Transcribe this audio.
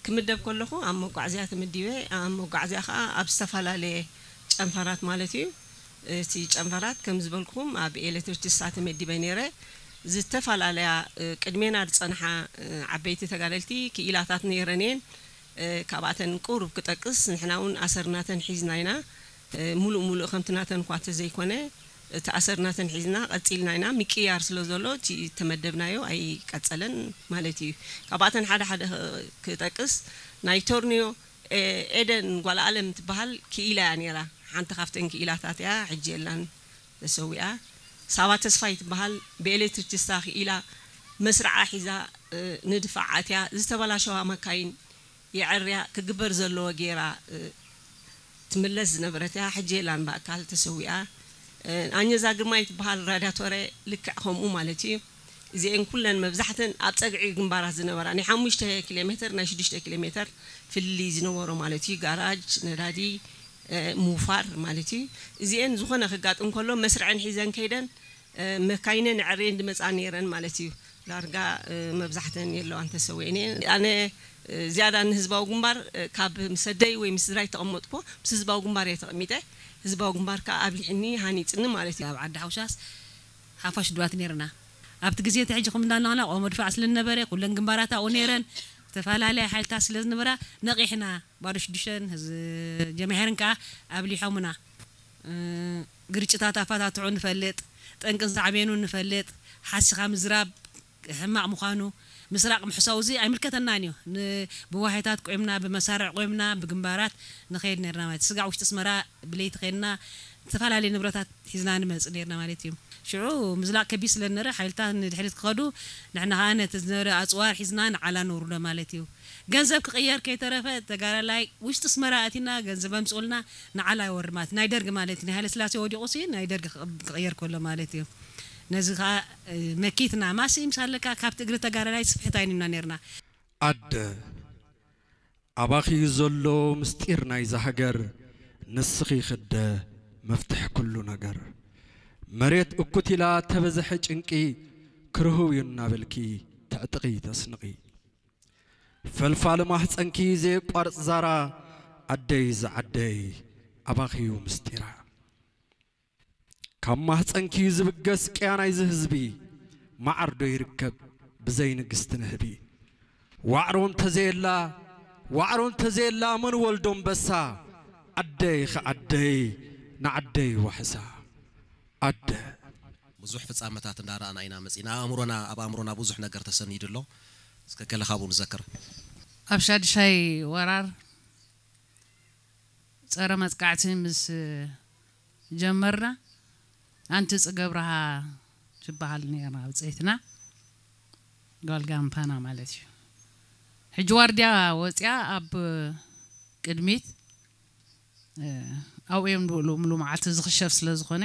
ክምደብ ከለኹ ኣብ መጓዕዝያ ተመዲበ። ኣብ መጓዕዝያ ከዓ ኣብ ዝተፈላለየ ጨንፈራት ማለት እዩ። እቲ ጨንፈራት ከም ዝበልኩኹም ኣብ ኤሌክትሪክስታ ተመዲበ ነይረ። ዝተፈላለያ ቅድሜና ዝፀንሓ ዓበይቲ ተጋደልቲ ክኢላታት ነይረን እየን። ካብኣተን ቁሩብ ክጠቅስ፣ ንሕና እውን ኣሰርናተን ሒዝና ኢና። ሙሉእ ሙሉእ ከምቲ ናተን እኳ ተዘይኮነ፣ እቲ ኣሰርናተን ሒዝና ቀፂልና ኢና። ምቅያር ስለ ዘሎ እቲ ተመደብናዮ ኣይቀፀለን ማለት እዩ። ካብኣተን ሓደ ሓደ ክጠቅስ፣ ናይ ቶርኒዮ ኤደን ጓል ኣለም ትበሃል ክኢላ እያ ነይራ። ሓንቲ ካብተን ክኢላታት እያ፣ ሕጂ የላን፣ ተሰዊኣ። ሳባ ተስፋይ ትበሃል፣ ብኤሌክትሪክስታ ክኢላ መስርዓ ሒዛ ንድፋዓት እያ። ዝተበላሸዋ መካይን የዐርያ ክግበር ዘለዎ ገይራ ትምለስ ዝነበረት እያ። ሕጂ የላን፣ ብኣካል ተሰዊኣ። ኣኘዛ ግርማይ ትበሃል ራዳቶረ፣ ልክዕ ከምኡ ማለት እዩ። እዚአን ኩለን መብዛሕተን ኣብ ፀግዒ ግንባራት ዝነበራ፣ ናይ ሓሙሽተ ኪሎ ሜትር፣ ናይ ሽዱሽተ ኪሎ ሜትር ፍልልይ ዝነበሮ ማለት እዩ። ጋራጅ፣ ነዳዲ፣ ምውፋር ማለት እዩ። እዚአን ዝኾነ ክጋጥም ከሎ መስርዐን ሒዘን ከይደን መካይነን ዕሬን ድመፃ ነይረን ማለት እዩ። ዳርጋ መብዛሕተን የለዋን፣ ተሰዊአን እየን። ኣነ ዝያዳ ንህዝባዊ ግንባር ካብ ምስ ኣደይ ወይ ምስ ስድራይ ተቐመጥኩ፣ ምስ ህዝባዊ ግንባር እየ ተቐሚጠ። ህዝባዊ ግንባር ከዓ ኣብሊዕኒ ሃኒፅኒ ማለት እዩ። ኣብ ዓዲ ሓውሻስ ሓፋሽ ድባት ነይርና። ኣብቲ ግዜ እቲ ሕጂ ከም እንዳናና ቆሞ ድፋዕ ስለ ዝነበረ ኩለን ግንባራት ኣብኡ ነይረን። ዝተፈላለያ ሓይልታት ስለ ዝነበራ ነቒሕና። ባዶ ሽዱሽተን ጀማሄርን ከዓ ኣብሊሖምና። ግርጭታት ኣፈታትሑ ንፈልጥ፣ ጠንቅን ሳዕቤኑን ንፈልጥ፣ ሓሲኻ ምዝራብ ሕማቕ ምዃኑ፣ ምስራቕ ምሕሳው እዚ ኣይምልከተናን እዩ። ብዋሄታት ቆይምና፣ ብመሳርዕ ቆይምና፣ ብግንባራት ንኸይድ ነርና ማለት። ስጋዕ ውሽጢ ኣስመራ ብለይቲ ከይድና ዝተፈላለዩ ንብረታት ሒዝና ንመጽእ ነርና ማለት እዩ። ሽዑ ምዝላቕ ከቢድ ስለ ዝነበረ ሓይልታት ንድሕሪት ክኸዱ፣ ንሕና ኸኣ ነቲ ዝነበረ ኣጽዋር ሒዝና ንዓላ ነውርዶ ማለት እዩ። ገንዘብ ክቕየር ከይተረፈ ተጋዳላይ ውሽጢ ኣስመራ ኣቲና ገንዘብ ኣምጽኡልና ንዓላ ይወርድ ማለት ናይ ደርግ ማለት እዩ። ናይ ሃይለስላሴ ወዲቑ ሲ ናይ ደርግ ክቕ- ክቕየር ከሎ ማለት እዩ። ነዚ ኸኣ መኪትና ማሲ ምስ ኣለካ ካብቲ እግሪ ተጋዳላይ ስፍሕት ኣይንና ነርና። ኣደ ኣባኺ ዘሎ ምስጢር ናይዛ ሃገር ንስኺ ክደ መፍትሕ ኩሉ ነገር። መሬት እኩት ኢላ ተበዝሐ ጭንቂ ክርህው እዩ እናበልኪ ተዕጥቒ ተስንቒ። ፈልፋሊ ማህፀንኪ ዘየቋርፅ ዛራ ኣደይ ዝዓደይ ኣባኺዩ ምስጢራ። ካብ ማህፀንኪ ዝብገስ ቅያ ናይዚ ህዝቢ ማዓር ዶ ይርከብ ብዘይ ንግስቲ ንህቢ። ዋዕሮ እንተዘየላ ዋዕሮ እንተዘየላ መን ወልዶ ኣንበሳ። ኣደይ ኸዓደይ ንዓደይ ዋሕሳ ኣደ። ብዙሕ ፍጻመታት እንዳረኣና ኢና መጺና። ኣእምሮና ኣብ ኣእምሮና ብዙሕ ነገር ተሰኒዱ ኣሎ። እስከ ገለ ካብኡ ንዘክር። ኣብ ሻድሻይ ወራር ጸረ መጥቃዕቲ ምስ ጀመርና ኣንቲ ጽገብረሃ ትበሃል ነይራ ብጸይትና ጓል ጋምፓና ማለት እዩ። ሕጂ ዋርድያ ወጽያ ኣብ ቅድሚት ኣብኡ እዮም ዝውዕሉ ምሉ መዓልቲ ዝኽሸፍ ስለ ዝኾነ